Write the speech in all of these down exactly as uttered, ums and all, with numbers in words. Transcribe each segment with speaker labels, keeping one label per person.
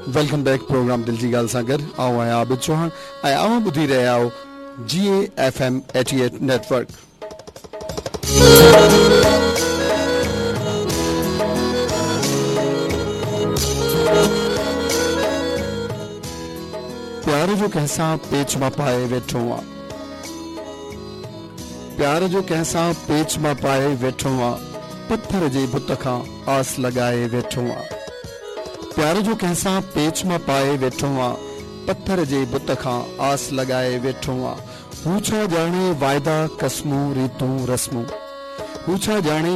Speaker 1: Welcome back programme दिल जी ॻाल्हि सां गॾु आउं आहियां आबिद चौहान ऐं अव्हां ॿुधी रहिया आहियो G A F M eighty eight network. प्यार जो कंहिंसां पेच मां पाए वेठो आं, प्यार जो कंहिंसां पेच मां पाए वेठो आं, पत्थर जे बुत खां आस लॻाए वेठो आं। प्यार जो कंहिंसां पेच मां पाए वेठो आं, पत्थर जे बुत खां आस लॻाए वेठो आं। हू छा ॼाणे वाइदा कसमूं रीतूं रस्मूं, हू छा ॼाणे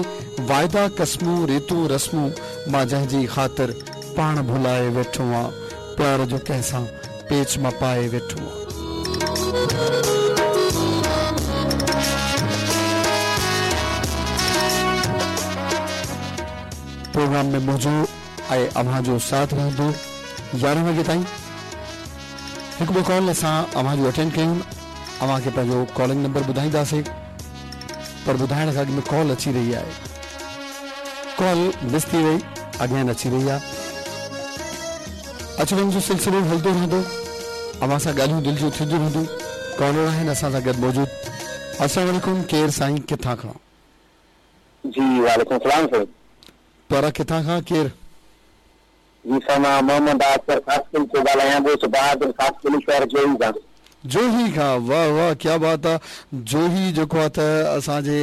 Speaker 1: वाइदा कसमूं रीतूं रस्मूं, मां जंहिंजी ख़ातिर पाण भुलाए वेठो आं। प्यार जो कंहिंसां पेच मां पाए वेठो आं। प्रोग्राम में मुंहिंजो ऐं अव्हां जो साथ रहंदो यारहं वॻे ताईं। हिकु ॿियो कॉल असां अव्हां जो अटेंड कयूं, अव्हांखे पंहिंजो कॉलिंग नंबर ॿुधाईंदासीं, पर ॿुधाइण खां अॻु में कॉल अची रही आहे। कॉल मिस थी वई, अगेन अची रही आहे। अचु वञ जो सिलसिलो हलंदो रहंदो, अव्हां सां ॻाल्हियूं दिलि जूं थींदियूं रहंदियूं। कॉलर आहिनि असां सां गॾु मौजूदु। अस्सलाम वालेकुम, केरु साईं, किथां खां?
Speaker 2: जी वालेकुम सलाम सर।
Speaker 1: प्यारा किथां खां केरु?
Speaker 2: जी सर मां मोहम्मद आसर खासकिल थो ॻाल्हायां, ॻोठ बहादुर खासकिल शहर जोही खां।
Speaker 1: जोही खां, वाह वाह क्या बात आहे। जोही जेको आहे त असांजे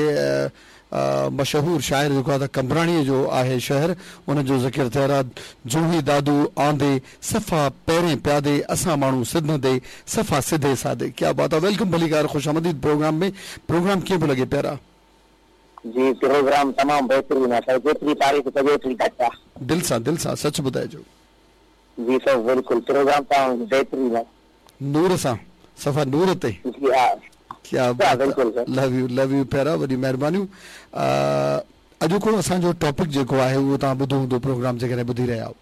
Speaker 1: मशहूर शाइर जेको आहे त कंबराणीअ जो आहे शहर, उन जो ज़िक्र थियल आहे। जोही दादू आंदे सफ़ा पहिरें प्यादे, असां माण्हू सिधंदे सफ़ा सिधे सादे। क्या बात आहे। Welcome भलीकार, ख़ुशि आमदीद प्रोग्राम में। प्रोग्राम कीअं पियो लॻे प्यारा?
Speaker 2: जी प्रोग्राम तमामु बहितरीन आहे सर, जेतिरी तारीफ़ कजे ओतिरी घटि आहे।
Speaker 1: दिलि सां दिलि सां सच ॿुधाइजो।
Speaker 2: जी सर बिल्कुलु, प्रोग्राम तमामु बहितरीन आहे।
Speaker 1: नूर सां सफ़ा नूर ते।
Speaker 2: जी हा,
Speaker 1: क्या बात, लव you love you प्यारा, वॾी महिरबानियूं। अॼोको असांजो टॉपिक जेको आहे उहो तव्हां ॿुधो हूंदो प्रोग्राम जेकॾहिं ॿुधी रहिया आहियो।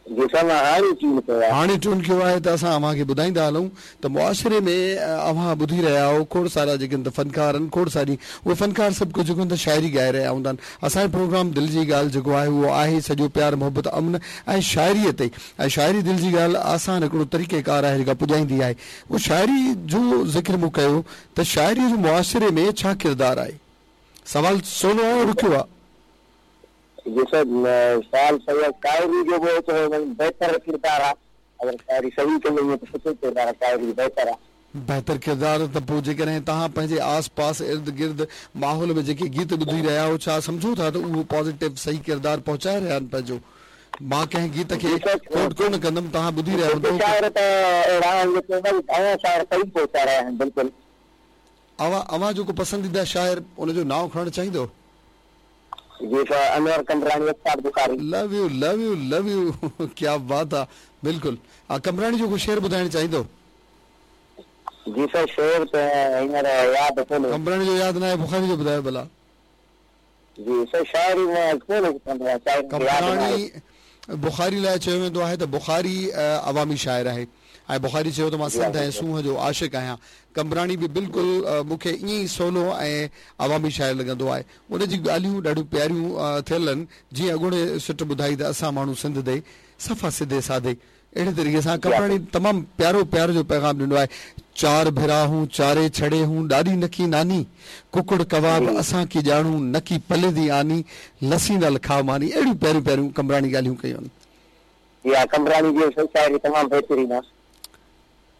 Speaker 2: जी सर मां हाणे ट्यून कयो आहे।
Speaker 1: हाणे ट्यून कयो आहे त असां अव्हांखे ॿुधाईंदा हलूं त मुआशिरे में अव्हां ॿुधी रहिया आहियो खोड़ सारा जेके त फनकार आहिनि, खोड़ सारी उहे फनकार सभु कुझु जेको त शाइरी ॻाए रहिया हूंदा आहिनि। असांजो प्रोग्राम दिलि जी ॻाल्हि जेको आहे उहो आहे सॼो प्यार मोहबत अमन ऐं शाइरीअ ते। ऐं शाइरी दिलि जी ॻाल्हि आसान हिकिड़ो तरीक़ेकार आहे जेका पुॼाईंदी आहे। उहो शाइरी जो ज़िक्र मूं कयो त शाइरीअ जो मुआशिरे में छा किरदारु आहे? सवाल सोनो आहे, ॾुखियो आहे?
Speaker 2: जी सर सवाल सही आहे। शाइरी जो बि बहितर किरदारु आहे, अगरि शाइरी सही कई वञे त सुठो किरदारु आहे, शाइरी बहितर आहे।
Speaker 1: बहितर किरदारु त पोइ जेकॾहिं तव्हां पंहिंजे आस पास इर्द गिर्द माहौल में जेके गीत ॿुधी रहिया आहियो, छा सम्झो था त उहो पॉज़िटिव सही किरदारु पहुचाए रहिया आहिनि पंहिंजो? मां कंहिं गीत खे कोट कोन कंदुमि, तव्हां ॿुधी रहिया हूंदो।
Speaker 2: शाइर त अहिड़ा आहिनि जेके घणा शाइर सही पहुचाए रहिया आहिनि। बिल्कुलु।
Speaker 1: अव्हां अव्हां जो को पसंदीदा शाइर उनजो नांव खणणु चाहींदो?
Speaker 2: जी sir Anwar Qambrani, Aftab Bukhari.
Speaker 1: Love you love you love you, क्या बात आहे। बिल्कुलु। कंबराणी जो को शेर ॿुधाइणु चाहींदो?
Speaker 2: जी सर शेर त हींअर यादि कोन्हे।
Speaker 1: कंबराणी जो यादि न आहे, बुखारी जो ॿुधायो भला।
Speaker 2: जी सर शाइरी मां कोन कंदो आहियां, शाइरी
Speaker 1: कंबराणी बुखारी लाइ चयो वेंदो आहे त बुखारी अवामी शाइर आहे ऐं बुखारी चयो त मां सिंध ऐं सूंहं जो आशिक आहियां। कंबराणी बि बिल्कुलु मूंखे ईअं ई सोलो ऐं अवामी शाइर लॻंदो आहे। उनजी ॻाल्हियूं ॾाढियूं प्यारियूं थियल आहिनि, जीअं अॻोणे सिट ॿुधाई त असां माण्हू सिंध दे सफ़ा सिधे साधे, अहिड़े तरीक़े सां कंबराणी तमामु प्यारो प्यार जो पैगाम ॾिनो आहे। चार भिरा हूँ चारे छड़े हूँ ॾाॾी नकी नानी, कुकड़ कबाब असां की ॼाणूं नकी पले दी आनी, लसी नाल खा मानी। अहिड़ियूं प्यारियूं प्यारियूं कंबराणी ॻाल्हियूं कयूं आहिनि।
Speaker 2: जी कंबराणी जी शाइरी तमामु बहितरीन आहे।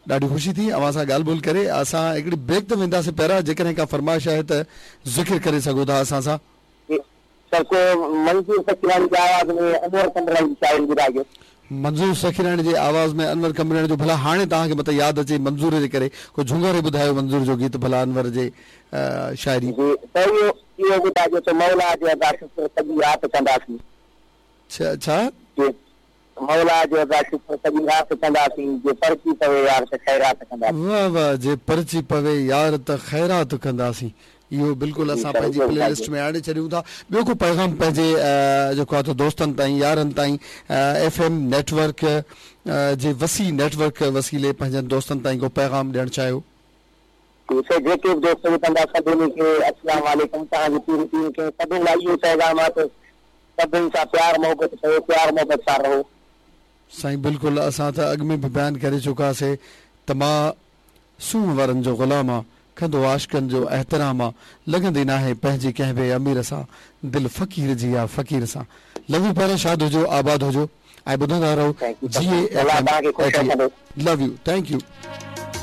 Speaker 1: ॾाढी ख़ुशी थी अव्हां सां ॻाल्हि ॿोल करे। असां हिकिड़ी ब्रेक ते वेंदासीं पहिरियां, जेकॾहिं का फरमाइश आहे त ज़िक्र करे सघो था असां सां।
Speaker 2: सर को मंज़ूर सखीराणी जी आवाज़ में अनवर कंबराणी जी शाइरी ॿुधाइजो।
Speaker 1: मंज़ूर सखीराणी जे आवाज़ में अनवर कंबराणी जो, भला हाणे तव्हांखे मतां यादि अचे मंज़ूर जे करे को झुंगारे ॿुधायो मंज़ूर जो गीत भला अनवर जे शाइरी।
Speaker 2: सर इहो इहो ॿुधाइजो त मौला जो अदा शुक्र सॼी राति कंदासीं।
Speaker 1: छा छा?
Speaker 2: मौला जो अदा शुक्र सॼी राति कंदासीं, जे परची पवे यार त ख़ैरात कंदासीं।
Speaker 1: वाह वाह, जे परची पवे यार त ख़ैरात कंदासीं। इहो बिल्कुलु असां पंहिंजी प्ले लिस्ट में आणे छॾियूं था। ॿियो को पैगाम पंहिंजे जेको आहे त दोस्तनि ताईं, यारनि ताईं, एफ एम नेटवर्क जे वसी नेटवर्क वसीले पंहिंजनि दोस्तनि ताईं को पैगाम ॾियणु चाहियो?
Speaker 2: जेके बि दोस्त ॿुधंदा सभिनी खे अस्सलाम वालेकुम। तव्हांजी पूरी टीम खे सभिनी लाइ इहो पैगाम आहे त सभिनी सां प्यार मोहबत कयो, प्यार मोहबत सां रहो।
Speaker 1: سائين بلڪل اسان ته اڳ ۾ به بيان ڪري چڪاسي ته مان سونهن وارن جو غلام آ، ڪندو عاشقن جو احترام آ، لڳندي ناهي پنهنجي ڪنهن به امير سان، دل فقير جي آ فقير سان. لو يو پيارا شاد هجو آباد هجو ۽ ٻڌندا رهو
Speaker 2: thank you
Speaker 1: جي اي
Speaker 2: الله
Speaker 1: ايف ايم
Speaker 2: توهان کي خوش
Speaker 1: ايٽي
Speaker 2: رکندو.
Speaker 1: Love you thank you.